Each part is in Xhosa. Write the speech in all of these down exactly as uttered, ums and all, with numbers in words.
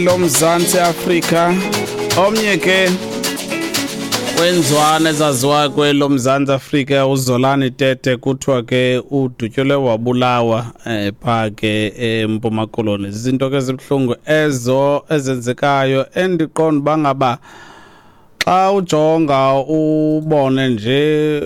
LoMzantsi Afrika, omnye ke wenzwana ezaziwa kweloMzantsi Afrika, uZolani Tete, kuthiwa ke udutyulwe wabulawa eh, phaa ke eMpuma Koloni. Zizinto ke ezibuhlungu ezo ezenzekayo, endiqonda uba ngaba xa ujonga ubone nje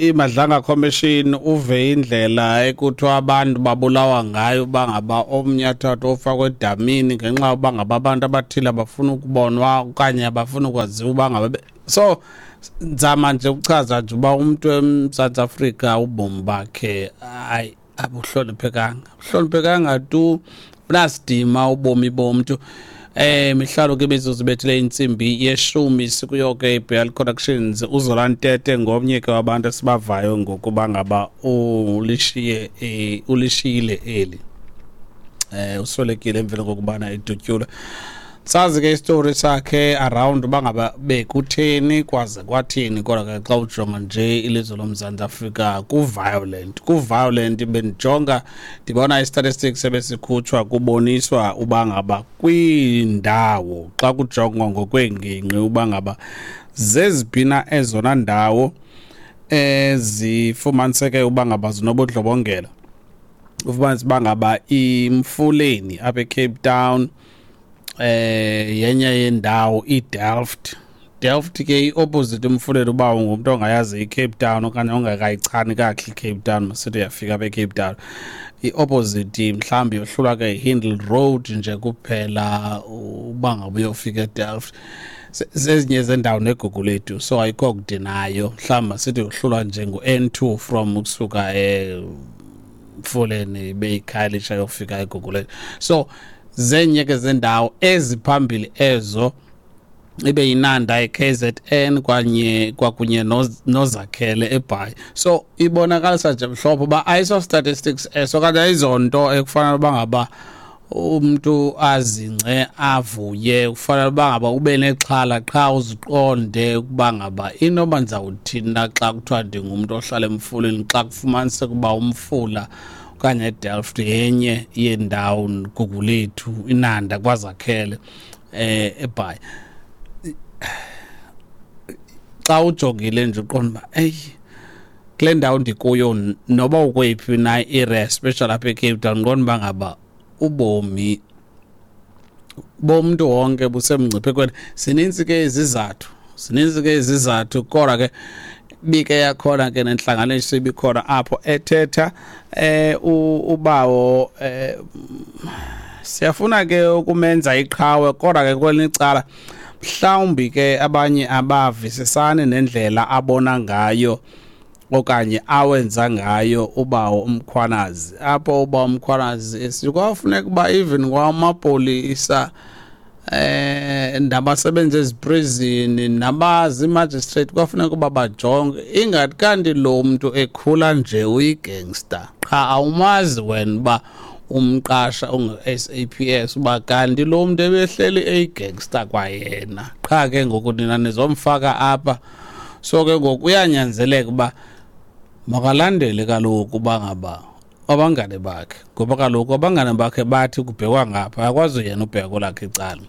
iMadlanga Commission, uve indlela ekuthiwa abantu babulawa ngayo, uba ngaba omnye athathwe ofakwe edamini ngenxa yoba ngaba abantu abathile abafuna ukubonwa okanye abafuna ukwaziwa uba ngaba. So nzama nje ukuchaza nje uba umntu eMzantsi Afrika ubomi bakhe, hayi, abuhloniphekanga, abuhloniphekanga tu, bunasidima ubomi bomntu. Eh mihlalo ke imizuzu ibethile intsimbi yeshumi, sikuyo ke iBL Productions. UZolani Tete ngomnye ke wabantu esibavayo ngokuba ngaba ulishiye eh, ulishiyile eli, eh uswelekile emveni kokubana edutyulwe. Sazi ke isitori sakhe around uba ngaba bekutheni, kwaze kwathini, kodwa ke xa ujonga nje ilizwe loMzantsi Afrika ku-violent, ku-violent. Bendijonga ndibona i-statistics ebesikhutshwa, kuboniswa uba ngaba kwiindawo, xa kujongwa ngokweengingqi, uba ngaba zeziphi na ezona ndawo ezifumaniseke uba ngaba zinobundlobongela, ufumanise uba ngaba iMfuleni apha eCape Town eh yenye yendawo, iDelft. Delft ke i-opposite uMfuleni. Uba ungumntu ongayazi iCape Town okanye ongakayichani kakuhle iCape Town, masithi uyafika apha eCape Town, i-opposite mhlawumbi yohlulwa ke yiHindley Road nje kuphela uba ngabe uyofika eDelft. Zezinye zendawo neGugulethu, so ayikho kude nayo. Mhlawumbi masithi yohlulwa nje ngu-N two from ukusuka eMfuleni beyiKhayelitsha yofika eGugulethu. So zenye ke zendawo eziphambili ezo, ibe yiNanda e-K Z N kwanye kwakunye noZakhele eBhayi. So ibonakalisa nje mhlophe uba ayiso statistics eso okanye ayizonto ekufanele uba ngaba umntu azingce avuye. Kufanele uba ngaba ube nexhala qha, uziqonde ukuba ngaba inoba ndizawuthini na xa kuthiwa ndingumntu ohlala eMfuleni, xa kufumaniseka uba umfula okanye eDelft yenye yendawo, Gugulethu, iNanda, kwaZakhele eh eBhayi. Xa ujongile nje uqonda uba eyi, kule ndawo ndikuyo, noba ukweyiphi na i-area, especially apha eCape Town, qonda uba ngaba ubomi bomntu wonke busemngciphekweni. Zininzi ke izizathu, zininzi ke izizathu, kodwa ke bike yakhona ke nentlanganiso ibikhona apho ethetha eh ubawo eh siyafuna ke ukumenza iqhawe, kodwa ke kwelinye icala mhlawumbi ke abanye abavisisani nendlela abona ngayo okanye awenza ngayo ubawo uMkhwanazi. Apho ubawo uMkhwanazi sikwafuneka uba even kwamapolisa eh nabasebenzi eziprison nabazi magistrate kwafuneka uba bajonge ingathi kanti lo muntu ekhula nje uyigangster, qha awumazi wena uba umqasha ungu-S A P S uba kanti lo muntu ebehleli eyigangster kwayena, qha ke ngoku nina nizomfaka apha. So ke ngoku uyanyanzeleka uba makalandele kaloku uba ngaba abangane bakhe, ngoba kaloku abangane bakhe bathi kubhekwa ngapha, akwazi yena ubheka kwelakhe icala.